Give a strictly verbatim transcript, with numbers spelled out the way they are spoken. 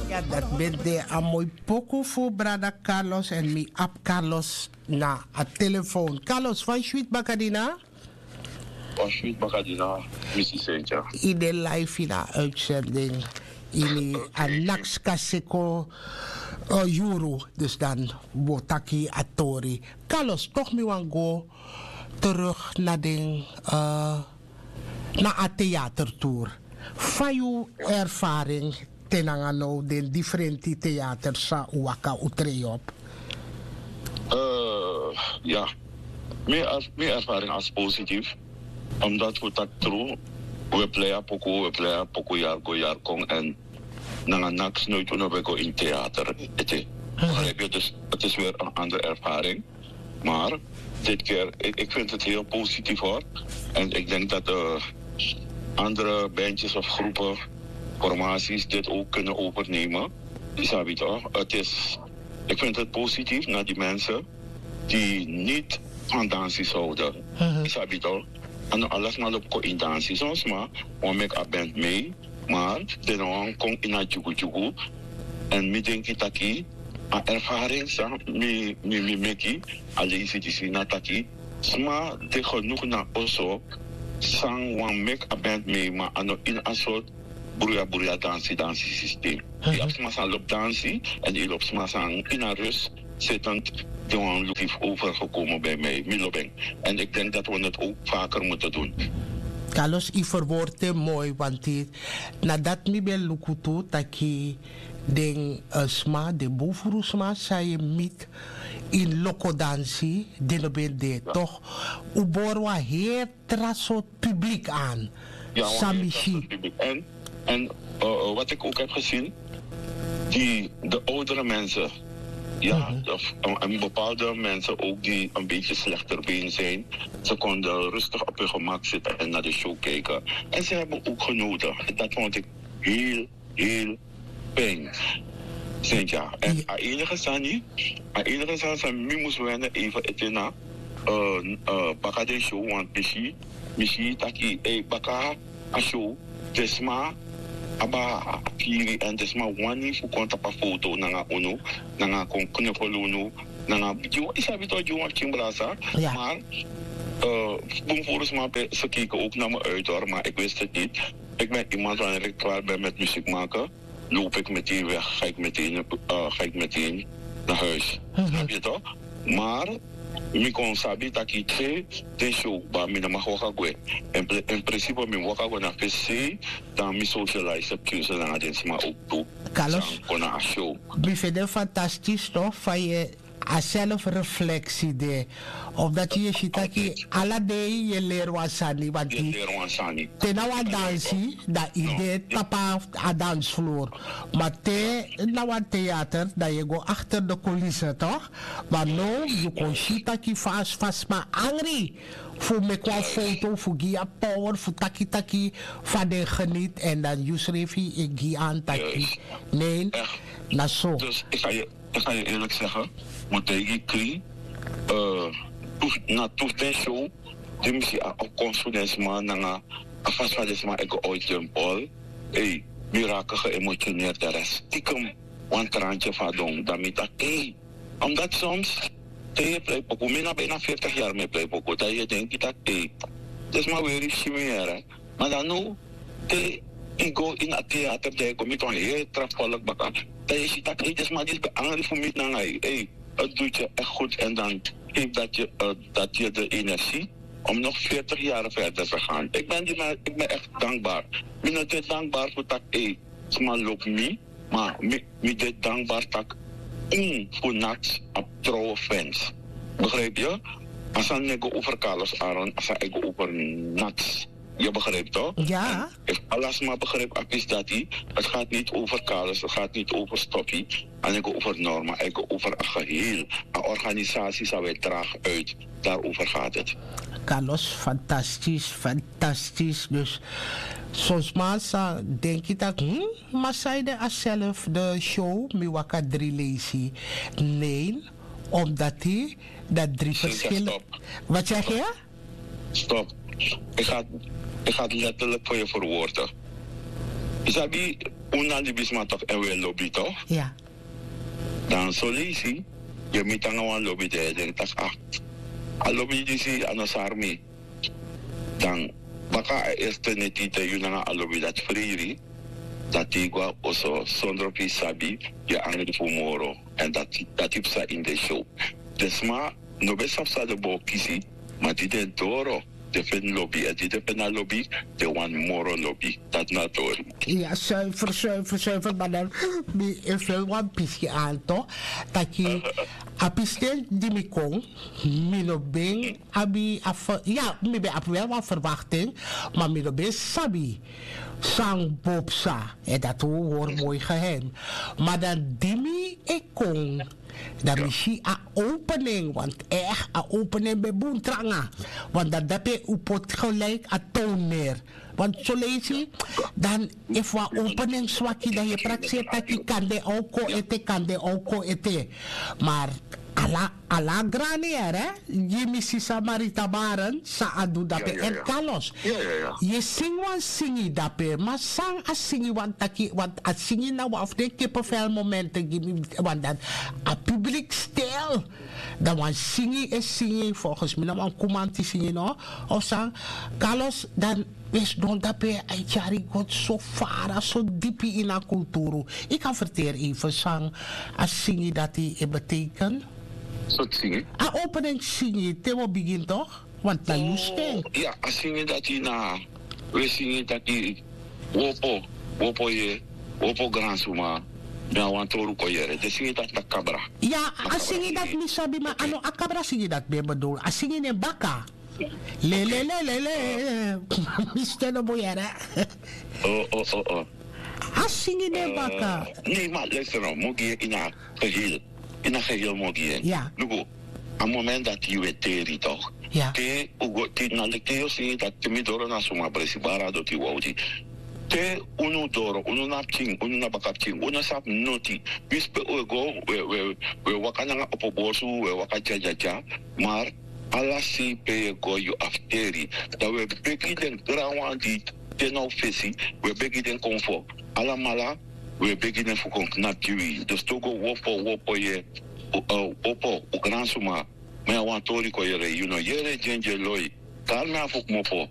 Ya, dat ben de a moi poku fu brada Carlos en mi abi Carlos na a telefoon. Carlos, fa yu switi bakadina? Wan switi bakadina, misi Sentya. Yu de live ini a uitzending ini a Nakskaseko, eh, yuru. Dus dan wi o taki a tori. Carlos, toch mi wani go terug na den, eh, na a theatertour. Fa yu ervaring te nanga now den differenti theater san un waka, un trei op? Eh, ya, mi er-, mi ervaring als positief. Omdat wi taki tru, wi plei a poku, wi plei a poku yari go yari kon en nanga naks noit unu ben go in theater ete. Begrijp je? Dus het is weer een andere ervaring. Maar dit keer, ik, ik vind het heel positief, hoor. En ik denk dat, eh, andere bandjes of groepen, formaties dit ook kunnen overnemen. Isabi toch? Het is, ik vind het positief naar die mensen die niet van dansi houden. Isabi toch? En alles maar op in dansi. Soms maar, we make a band mee. Maar den no wani kon ini a dyugudyugu. En mi denki taki a ervaring san mi, mi, mi meki a leisi disi na taki sma de genoeg na oso san wani meki a band mee, ma a no ini a sortu bruya bruya dansi dansi systeem. Yu abi sma san lobi dansi en yu lobi sma san ini a rust zittend, die wani luki overgekomen bij mij, mi lobi en. En ik denk dat we het ook vaker moeten doen. Carlos, yu verwoord en moi, want na dati mi ben luku tu taki den, eh, sma, den bun furu sma san yu miti ini loko dansi, den no ben de, toch? Un bori wan heri tra sortu publiek aan. San mi si. En, en, eh, eh, wat ik ook heb gezien, die, de oudere mensen, ja, of, en, en bepaalde mensen ook die een beetje slechter been zijn, ze konden rustig op hun gemak zitten en naar de show kijken. En ze hebben ook genoten. Dat vond ik heel, heel fijn. Sentya. En a enige sani, a enige sani san mi mus wende even ete na, eh, eh, baka den show, want mi si, mi si taki, eh, baka a show, den sma abi a kiri en den sma wani fu kon tapu a foto nanga unu, nanga kon knuffel unu, nanga gi wan, yu sabi toch, gi wan pikin brasa. Maar, eh, bun furu sma, ze keken ook naar me uit, hoor, maar ik wist het niet. Ik ben iemand, wanneer ik klaar ben met muziek maken, loop ik meteen weg, ga ik meteen, eh, ga ik meteen naar huis. Snap je toch? Maar mi kon sabi taki te den show, ma mi no mag waka gwe. In pri-, in principe mi waka go na fesi, dan mi socialize, heb keuze nanga den sma ook tu. Carlos, san kon na a show. Mi fende fantastisch toch, fa yu a selfreflectie de. Omdat yu e si taki ala dei yu e leri wan sani, want te na wan dansi, dan yu de tapu a dansvloer. Ma te na wan theater, dan yu e go achter de coulisse, toch? Ma now yu kon si taki fa, fa sma angri fu meki wan foto, fu gi yu a power, fu taki taki fa den geniet, en dan yusrefi e gi an taki. Nee, na so. Ik ga je eerlijk zeggen, mi taigi krin, eh, tu, na tu den show di mi si a opkomst fu den sma nanga a fasi fa den sma e go uit den bol. Ei, mi raak geemotioneerd, de rest stiekem wan traantje fadon. Dan mi taki, ei, omdat soms te yu e plei poku, mi na bijna veertig jaar mi e plei poku, dan yu e denki taki, ei, den sma weri fu si mi yere. Ma dan now, te yu go ini a theater, dan yu go miti wan heri tra volk baka. Dan yu e si taki, ei, den sma disi ben angri fu miti nanga yu. Ei, het doet je echt goed en dan geeft dat je, eh, dat je de energie om nog veertig jaar verder te gaan. Ik ben die men-, ik ben echt dankbaar. Mi no de dankbaar fu taki, ei, sma lobi mi, ma mi, mi de dankbaar taki un fu Naks abi trouwe fans. Begrijp je? A sani no e go over Carlos Aaron, a sani e go over Naks. Je begrijpt toch? Ja. En efu ala sma begrijp a pisi dati, het gaat niet over Carlos, het gaat niet over Stoffie, a no e go over Norma, a e go over a geheel. A organisatie san wi e draag uit, daarover gaat het. Carlos, fantastisch, fantastisch. Dus son sma sa denki taki, hmm, ma san ede a self de show, mi waka dri leisi. Nee, omdat yu dat dri verschillende. Wat zeg je? Stop. Ik ga, ik ga het letterlijk voor je verwoorden. Yu sabi, Un na libisma tok' èn un e lobi tok'. Dan soleisi yu e miti nanga wan lobi di e denki tak' a lobi disi a no sari mi. Dan baka a erste neti te yu nanga a lobi dati freiri, dan te yu go na oso sondro pe yu sabi yu e angri fu moro. Èn dati psa ini den show. Den sma no ben sabi san den bo kisi, ma di den doro den feni lobi èn di den feni a lobi den wani moro lobi. Dati na a tori. Ya, suifer suifer suifer ma dan mi e feni wan pisi anto taki a pisten di mi kon, mi no ben abi a ya mi ben abi wel wan verwakting, ma mi no ben sabi san bo psa. Èn dati un hori moi geheim. Ma dan di mi e kon, dan mi si a opening want echt a opening ben bun tranga. Want dan dape un poti gelijk a toner. Want soleisi dan efu a opening swaki dan yu e prakseri taki kan den oko ete kan den oko ete. Maar ala ala grani ere. Gi mi sisa marita baren san a du dape èn kalos. Yu e singi wan singi dape ma san a singi wan taki want a singi na wan fu den kipefel momenten gi mi. Want dan a publik stil. Dan wan singi e singi folgens mi na wan kumanti singi no? Of san kalos dan wi e sidon dape a e tyari god so fara so dipi ini a kulturu. Yu kan ferteri even san a singi dati e beteken? Sortu singi? A opening singi te wi o bigin tok'. Want na yu skin. Ya a singi dati na wi e singi taki wopo wopo ye wopo gransuma. Mi na wan tori un kon yere den singi dati na kabra. Ya a singi dati mi sabi ma a no a kabra singi dati ben bedul a singi nen baka. Lelelelele. Mi sten no bun yere. A singi nen baka. Nei ma luister no mi o gi yu ini a geheel. Ini a geheel mi o gi yu en. Luku a moment dati yu e teri tok'. Te un go te na leki te yu o singi dati te mi doro na suma bresi bari a doti wawti. Te unu doro unu na pikin unu na baka pikin unu no sabi noti. Wisi pe un e go un e waka nanga opo borsu un e waka dyadya. Mar ala sei pe yu e go yu abi teri. Dan un e begi den granwan di de na un fesi un e begi den kon fo. Alamala un e begi den fu kon knapu gi wi dus te un go wopo wopo ye. Wopo un gransuma. Mi na wan tori kon yere yu no yere dyendye loi. Kari mi afu kmopo.